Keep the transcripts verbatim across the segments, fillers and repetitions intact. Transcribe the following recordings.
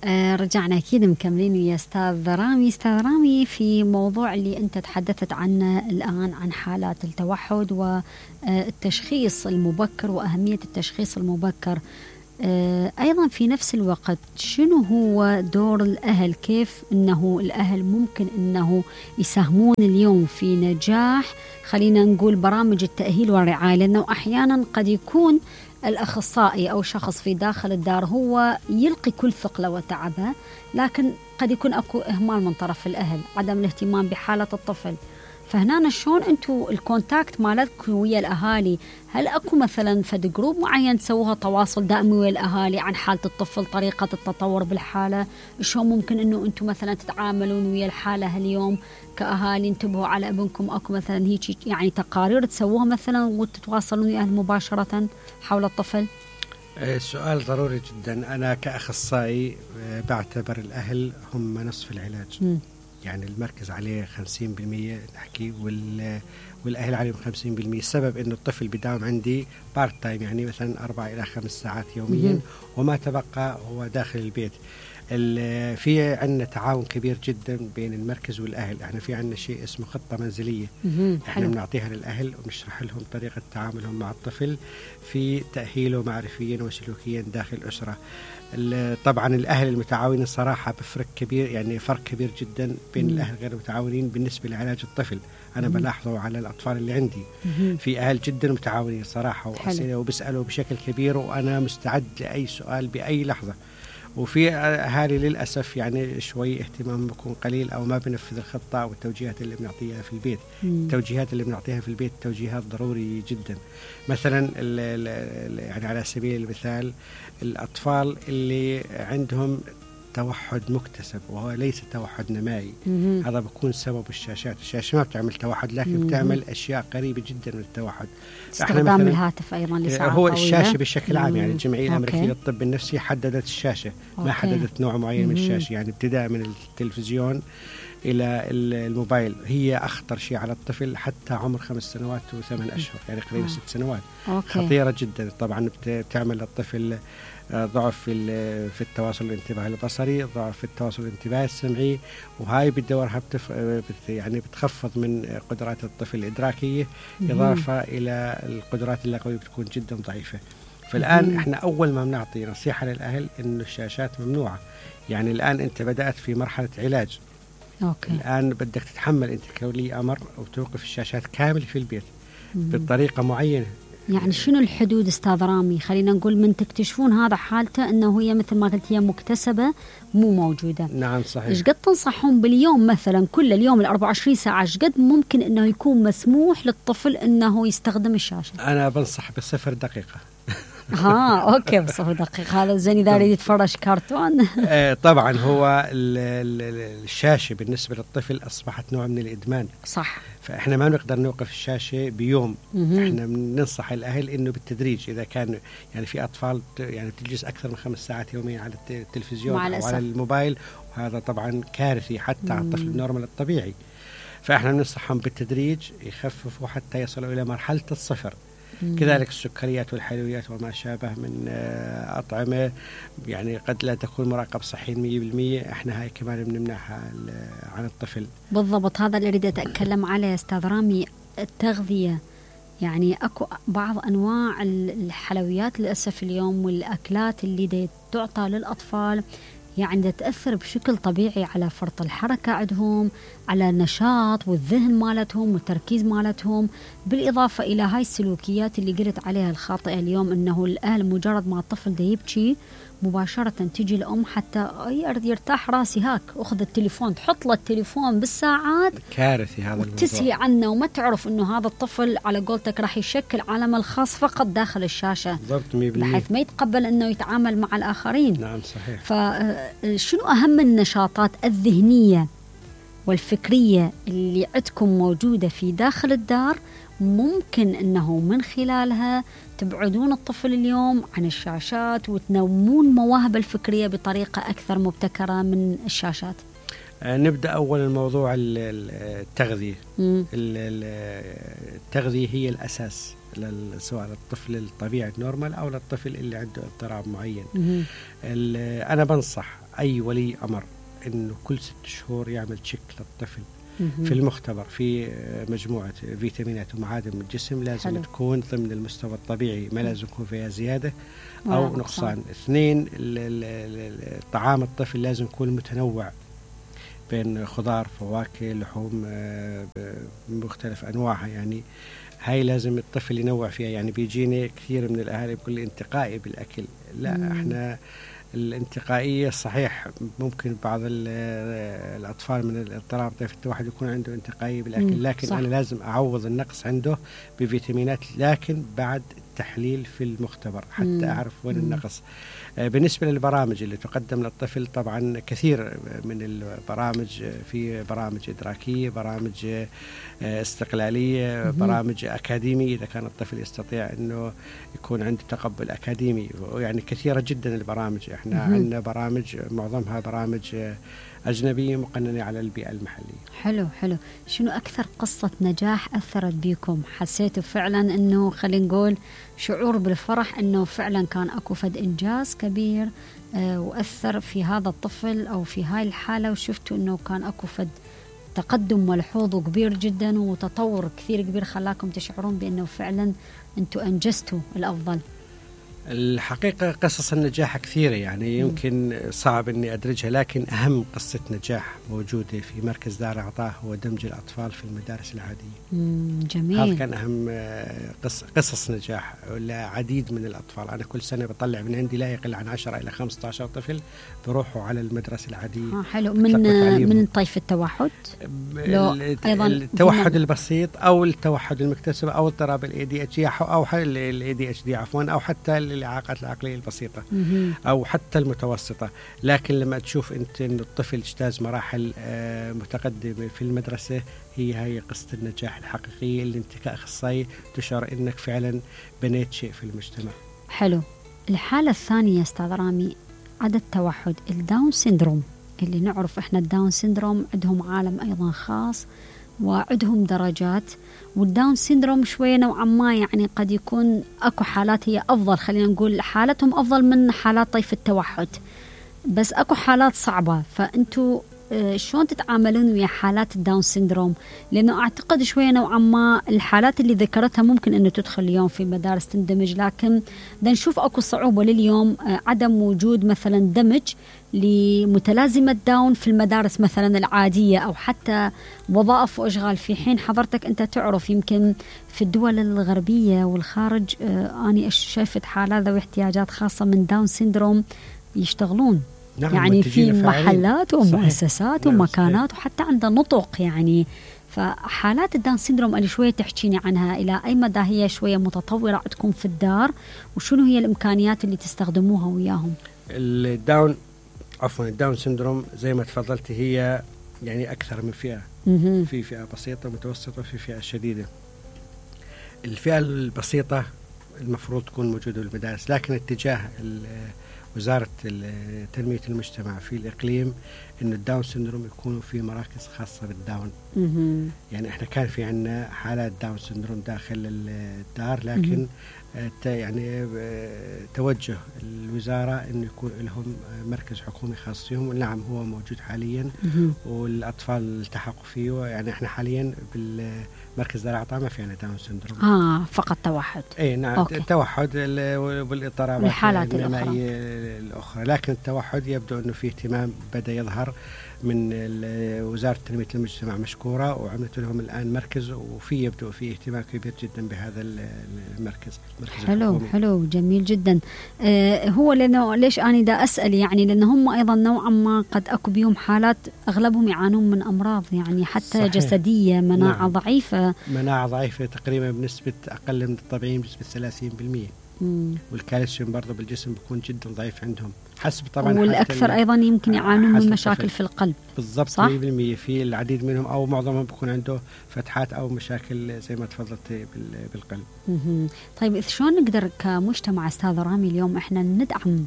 آه رجعنا أكيد مكملين يا أستاذ رامي. أستاذ رامي، في موضوع اللي أنت تحدثت عنه الآن عن حالات التوحد والتشخيص المبكر وأهمية التشخيص المبكر، آه أيضا في نفس الوقت شنو هو دور الأهل؟ كيف أنه الأهل ممكن أنه يساهمون اليوم في نجاح خلينا نقول برامج التأهيل والرعاية؟ لأنه أحيانا قد يكون الأخصائي أو شخص في داخل الدار هو يلقي كل ثقله وتعبه، لكن قد يكون أكو إهمال من طرف الأهل، عدم الاهتمام بحالة الطفل. فهنا شلون أنتوا الكونتاكت مالتكم ويا الأهالي؟ هل أكو مثلا فد جروب معين تسووها تواصل دائمي ويا الأهالي عن حالة الطفل، طريقة التطور بالحالة؟ شلون ممكن أنه أنتوا مثلا تتعاملون ويا الحالة اليوم كأهالي؟ انتبهوا على ابنكم، أكو مثلا هيك يعني تقارير تسووها مثلا وتتواصلون ويا الأهل مباشرة حول الطفل؟ سؤال ضروري جدا. أنا كأخصائي بعتبر الأهل هم نصف العلاج. م. يعني المركز عليه خمسين بالمية نحكي وال والأهل عليهم خمسين بالمية. السبب إنه الطفل بداوم عندي بارت تايم، يعني مثلا أربع إلى خمس ساعات يوميا، م. وما تبقى هو داخل البيت. في عندنا تعاون كبير جدا بين المركز والأهل. احنا في عندنا شيء اسمه خطة منزلية، احنا بنعطيها للأهل ونشرح لهم طريقة تعاملهم مع الطفل في تأهيله معرفيا وسلوكيا داخل الأسرة. طبعا الأهل المتعاونين صراحة بفرق كبير، يعني فرق كبير جدا بين مم. الأهل غير المتعاونين بالنسبة لعلاج الطفل. أنا مم. بلاحظه على الأطفال اللي عندي. مم. في أهل جدا متعاونين صراحة وأسئلة وبسألوا بشكل كبير، وأنا مستعد لأي سؤال بأي لحظة. وفي أهالي للأسف يعني شوي اهتمام بيكون قليل أو ما بنفذ الخطة والتوجيهات اللي بنعطيها في البيت. مم. التوجيهات اللي بنعطيها في البيت توجيهات ضروري جدا. مثلا ال ال يعني على سبيل المثال الأطفال اللي عندهم توحد مكتسب وهو ليس توحد نمائي، مم. هذا بيكون سبب الشاشات. الشاشة ما بتعمل توحد، لكن مم. بتعمل أشياء قريبة جدا من التوحد. استخدام الهاتف أيضا لساعات هو طويلة. الشاشة بشكل عام، يعني الجمعية الأمريكية للطب النفسي حددت الشاشة، أوكي. ما حددت نوع معين مم. من الشاشة، يعني ابتداء من التلفزيون إلى الموبايل. هي أخطر شيء على الطفل حتى عمر خمس سنوات وثمان أشهر، يعني قريب ست سنوات. أوكي. خطيرة جدا. طبعا بتعمل للطفل ضعف في في التواصل الانتباهي البصري، ضعف في التواصل الانتباهي السمعي، وهاي بدورها بتف... بت... يعني بتخفض من قدرات الطفل الإدراكية، إضافة إلى القدرات اللغوية بتكون جدا ضعيفة. فالآن إحنا أول ما بنعطي نصيحة للأهل إنه الشاشات ممنوعة. يعني الآن أنت بدأت في مرحلة علاج، أوكي. الآن بدك تتحمل أنت كولي أمر وتوقف الشاشات كامل في البيت مم. بطريقة معينة. يعني شنو الحدود أستاذ رامي؟ خلينا نقول من تكتشفون هذا حالته أنه هي مثل ما قلت هي مكتسبة مو موجودة. نعم صحيح. إيش قد تنصحون باليوم مثلا كل اليوم الأربعة وعشرين ساعة إيش قد ممكن أنه يكون مسموح للطفل أنه يستخدم الشاشة؟ أنا بنصح بصفر دقيقة. ها أوكي بصفر دقيقة. هذا زين إذا يريد يتفرج كرتون. طبعا هو الشاشة بالنسبة للطفل أصبحت نوع من الإدمان. صح. فإحنا ما نقدر نوقف الشاشة بيوم. مم. إحنا بننصح الأهل إنه بالتدريج. إذا كان يعني في أطفال يعني بتجلس أكثر من خمس ساعات يوميا على التلفزيون أو على الموبايل، وهذا طبعا كارثي حتى مم. على الطفل النورمال الطبيعي. فإحنا بننصحهم بالتدريج يخففوا حتى يصلوا إلى مرحلة الصفر. مم. كذلك السكريات والحلويات وما شابه من أطعمة يعني قد لا تكون مراقب صحي مية بالمية، احنا هاي كمان بنمنعها عن الطفل. بالضبط، هذا اللي أريد أتكلم عليه أستاذ رامي. التغذية، يعني أكو بعض أنواع الحلويات للأسف اليوم والأكلات اللي تعطى للأطفال يعني تأثر بشكل طبيعي على فرط الحركة عندهم، على النشاط والذهن مالتهم والتركيز مالتهم، بالإضافة إلى هاي السلوكيات اللي قلت عليها الخاطئة اليوم، أنه الأهل مجرد ما الطفل ده يبكي مباشرة تيجي الأم حتى يرتاح راسي هاك أخذ التليفون، تحط له التليفون بالساعات، كارثي هذا الموضوع، وتسهي عنه وما تعرف أنه هذا الطفل على قولتك راح يشكل عالمه الخاص فقط داخل الشاشة، بحيث ما يتقبل أنه يتعامل مع الآخرين. نعم صحيح. فشنو أهم النشاطات الذهنية والفكرية اللي عندكم موجودة في داخل الدار ممكن أنه من خلالها تبعدون الطفل اليوم عن الشاشات وتنمون مواهب الفكرية بطريقة أكثر مبتكرة من الشاشات؟ نبدأ أول الموضوع التغذية. التغذية هي الأساس سواء للطفل الطبيعي النورمال أو للطفل اللي عنده اضطراب معين. أنا بنصح أي ولي أمر إنه كل ست شهور يعمل تشيك للطفل في المختبر في مجموعة فيتامينات ومعادن من الجسم، لازم حلو. تكون ضمن المستوى الطبيعي، ما لازم يكون فيها زيادة أو نقصان. اثنين، طعام الطفل لازم يكون متنوع بين خضار، فواكه، لحوم بمختلف أنواعها، يعني هاي لازم الطفل ينوع فيها. يعني بيجيني كثير من الأهالي بيقول لي انتقائي بالأكل، لا مم. احنا الانتقائية صحيح ممكن بعض الأطفال من الاضطراب طيف التوحد يكون عنده انتقائية بالأكل، لكن صح. أنا لازم أعوض النقص عنده بفيتامينات، لكن بعد تحليل في المختبر حتى مم. أعرف وين مم. النقص. بالنسبة للبرامج اللي تقدم للطفل، طبعا كثير من البرامج، في برامج إدراكية، برامج استقلالية، مم. برامج أكاديمية إذا كان الطفل يستطيع أنه يكون عنده تقبل أكاديمي، يعني كثيرة جدا البرامج. احنا عندنا برامج معظمها برامج أجنبية مقننة على البيئة المحلية. حلو حلو. شنو أكثر قصة نجاح أثرت بيكم؟ حسيتوا فعلا أنه خلينا نقول شعور بالفرح أنه فعلا كان أكو فد إنجاز كبير آه وأثر في هذا الطفل أو في هاي الحالة، وشفتوا أنه كان أكو فد تقدم ملحوظ كبير جدا وتطور كثير كبير خلاكم تشعرون بأنه فعلا أنتوا أنجزتوا الأفضل؟ الحقيقة قصص النجاح كثيرة، يعني يمكن صعب أني أدرجها، لكن أهم قصة نجاح موجودة في مركز دار عطاء هو دمج الأطفال في المدارس العادية. جميل. هذا كان أهم قص قصص نجاح لعديد من الأطفال. أنا كل سنة بطلع من عندي لا يقل عن عشرة إلى خمسة عشر طفل بروحوا على المدرسة العادية. آه حلو. من من طيف التوحد؟ أيضا التوحد البسيط أو التوحد المكتسب أو اضطراب ال إيه دي إتش دي أو ال إيه دي إتش دي عفوا، أو حتى الإعاقات العقلية البسيطة أو حتى المتوسطة. لكن لما تشوف أنت أن الطفل اجتاز مراحل متقدمة في المدرسة، هي هي قصة النجاح الحقيقية اللي أنت كأخصائي تشعر أنك فعلا بنيت شيء في المجتمع. حلو. الحالة الثانية أستاذ رامي عدد التوحد الداون سيندروم، اللي نعرف إحنا الداون سيندروم عندهم عالم أيضا خاص وعندهم درجات، والداون سيندروم شوية نوعا ما يعني قد يكون أكو حالات هي أفضل، خلينا نقول حالتهم أفضل من حالات طيف التوحد، بس أكو حالات صعبة. فأنتوا شلون تتعاملون ويا حالات الداون سيندروم؟ لأنه أعتقد شوية نوعا ما الحالات اللي ذكرتها ممكن أنه تدخل اليوم في مدارس تندمج، لكن دا نشوف أكو صعوبة لليوم عدم وجود مثلا دمج لمتلازمة داون في المدارس مثلا العادية أو حتى وظائف وأشغال، في حين حضرتك أنت تعرف يمكن في الدول الغربية والخارج آه أنا شايفت حالات ذوي احتياجات خاصة من داون سيندروم يشتغلون، نعم، يعني في محلات ومؤسسات نعم ومكانات وحتى عنده نطق يعني. فحالات الداون سيندروم اللي شوية تحكيني عنها، إلى أي مدى هي شوية متطورة عندكم في الدار، وشنو هي الإمكانيات اللي تستخدموها وياهم؟ الداون عفوا الداون سيندروم زي ما تفضلت هي يعني أكثر من فئة، في فئة بسيطة متوسطة في فئة شديدة. الفئة البسيطة المفروض تكون موجودة بالمدارس، لكن اتجاه وزارة تنمية المجتمع في الإقليم إنه الداون سيندروم يكونوا في مراكز خاصة بالداون. يعني إحنا كان في عنا حالات داون سيندروم داخل الدار، لكن يعني توجه الوزارة إنه يكون لهم مركز حكومي خاص فيهم، ونعم هو موجود حاليا والأطفال التحقوا فيه. يعني إحنا حاليا بالمركز دار عطاء ما في عنا داون سيندروم، آه فقط توحد. إيه نعم، التوحد والاضطرابات النمائية الأخرى، لكن التوحد يبدو أنه في اهتمام بدأ يظهر من وزارة تنمية المجتمع مشكورة، وعملت لهم الآن مركز، وفي يبدو في اهتمام كبير جدا بهذا المركز. حلو الحكومي. حلو جميل جدا. آه هو لأنه ليش أنا دا أسأل يعني لأن هم أيضا نوعا ما قد أكو بيهم حالات أغلبهم يعانون من أمراض يعني حتى صحيح. جسدية، مناعة نعم. ضعيفة مناعة ضعيفة تقريبا بنسبة أقل من الطبيعي بنسبة ثلاثين بالمئة، والكالسيوم برضه بالجسم بيكون جدا ضعيف عندهم حسب طبعا. والأكثر أيضا يمكن يعانون من مشاكل في القلب. بالضبط مية بالمئة. في العديد منهم أو معظمهم بيكون عنده فتحات أو مشاكل زي ما تفضلت بالقلب. مم. طيب شلون نقدر كمجتمع أستاذ رامي اليوم إحنا ندعم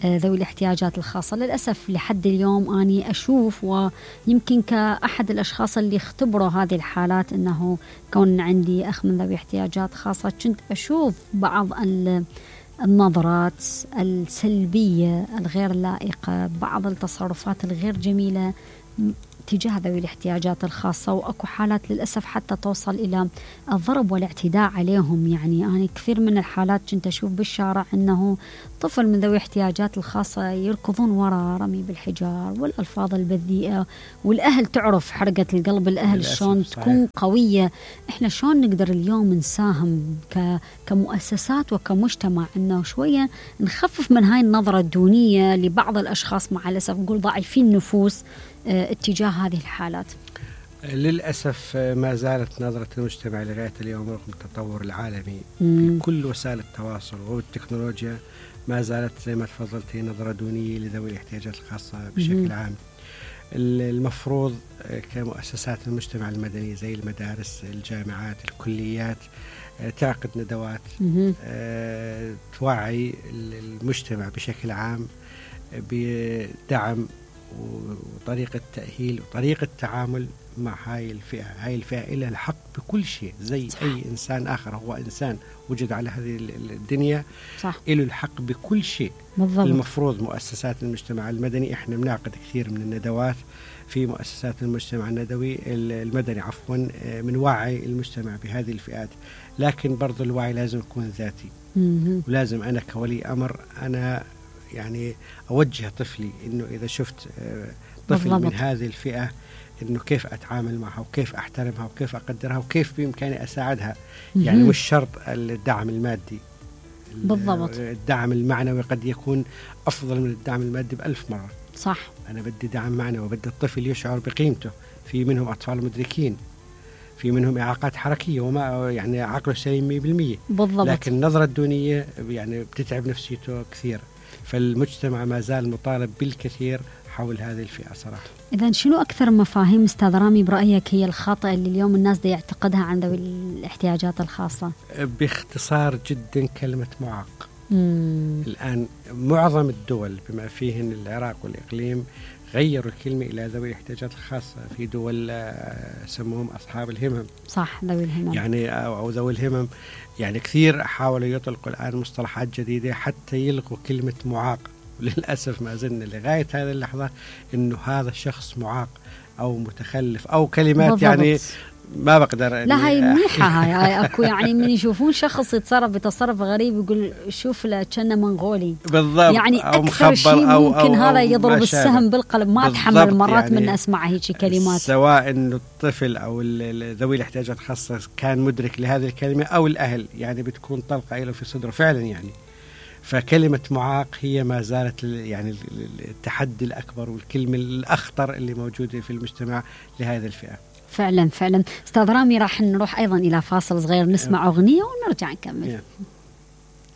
ذوي الاحتياجات الخاصة؟ للأسف لحد اليوم أني أشوف، ويمكن كأحد الأشخاص اللي اختبروا هذه الحالات أنه كون عندي أخ من ذوي احتياجات خاصة، كنت أشوف بعض النظرات السلبية الغير لائقة، بعض التصرفات الغير جميلة تجاه ذوي الاحتياجات الخاصة، وأكو حالات للأسف حتى توصل إلى الضرب والاعتداء عليهم. يعني أنا كثير من الحالات كنت أشوف بالشارع أنه طفل من ذوي الاحتياجات الخاصة يركضون وراء رمي بالحجار والألفاظ البذيئة، والأهل تعرف حرقة القلب الأهل شلون تكون قوية. إحنا شلون نقدر اليوم نساهم كمؤسسات وكمجتمع أنه شوية نخفف من هاي النظرة الدونية لبعض الأشخاص مع الأسف نقول ضعيفين النفوس اتجاه هذه الحالات؟ للأسف ما زالت نظرة المجتمع لغاية اليوم رغم التطور العالمي في كل وسائل التواصل والتكنولوجيا، ما زالت زي ما تفضلتي نظرة دونية لذوي الاحتياجات الخاصة بشكل عام. المفروض كمؤسسات المجتمع المدني زي المدارس، الجامعات، الكليات تعقد ندوات توعي المجتمع بشكل عام بدعم وطريقة تأهيل وطريقة تعامل مع هاي الفئة. هاي الفئة إلها الحق بكل شيء زي صح. أي إنسان آخر، هو إنسان وجد على هذه الدنيا صح. إله الحق بكل شيء بالضبط. المفروض مؤسسات المجتمع المدني، إحنا بنعقد كثير من الندوات في مؤسسات المجتمع الندوي المدني عفوا من وعي المجتمع بهذه الفئات، لكن برضو الوعي لازم يكون ذاتي. م- ولازم أنا كولي أمر أنا يعني أوجه طفلي إنه إذا شفت طفل بالضبط. من هذه الفئة إنه كيف أتعامل معها وكيف أحترمها وكيف أقدرها وكيف بإمكاني أساعدها. م- يعني مش شرط الدعم المادي بالضبط، الدعم المعنوي قد يكون أفضل من الدعم المادي بألف مرة. صح. أنا بدي دعم معنوي وبدي الطفل يشعر بقيمته. في منهم أطفال مدركين، في منهم إعاقات حركية وما يعني عقله سليم مية بالمية بالضبط، لكن النظرة الدونية يعني بتتعب نفسيته كثير. فالمجتمع ما زال مطالب بالكثير حول هذه الفئة صراحة. إذن شنو أكثر مفاهيم أستاذ رامي برأيك هي الخاطئة اللي اليوم الناس دي يعتقدها عن ذوي الاحتياجات الخاصة؟ باختصار جدا كلمة معاق. مم. الآن معظم الدول بما فيهن العراق والإقليم غيروا الكلمة إلى ذوي الاحتياجات الخاصة. في دول سموهم أصحاب الهمم، صح، ذوي الهمم يعني أو ذوي الهمم. يعني كثير حاولوا يطلقوا الآن مصطلحات جديدة حتى يلغوا كلمة معاق. وللأسف ما زلنا لغاية هذه اللحظة إنه هذا الشخص معاق أو متخلف أو كلمات بالضبط. يعني ما بقدر. لا هاي منيحة هاي, هاي أكو يعني من يشوفون شخص يتصرف بتصرف غريب يقول شوف له كأنه منغولي بالضبط، يعني أكثر شيء ممكن أو أو هذا أو يضرب السهم بالقلب. ما أتحمل مرات يعني من أسمع هيك كلمات، سواء إنه الطفل أو ذوي الاحتياجات الخاصة كان مدرك لهذه الكلمة أو الأهل، يعني بتكون طلقة له في صدره فعلا. يعني فكلمة معاق هي ما زالت يعني التحدي الأكبر والكلمة الأخطر اللي موجودة في المجتمع لهذه الفئة. فعلا فعلا. أستاذ رامي راح نروح أيضا إلى فاصل صغير نسمع أغنية ونرجع نكمل.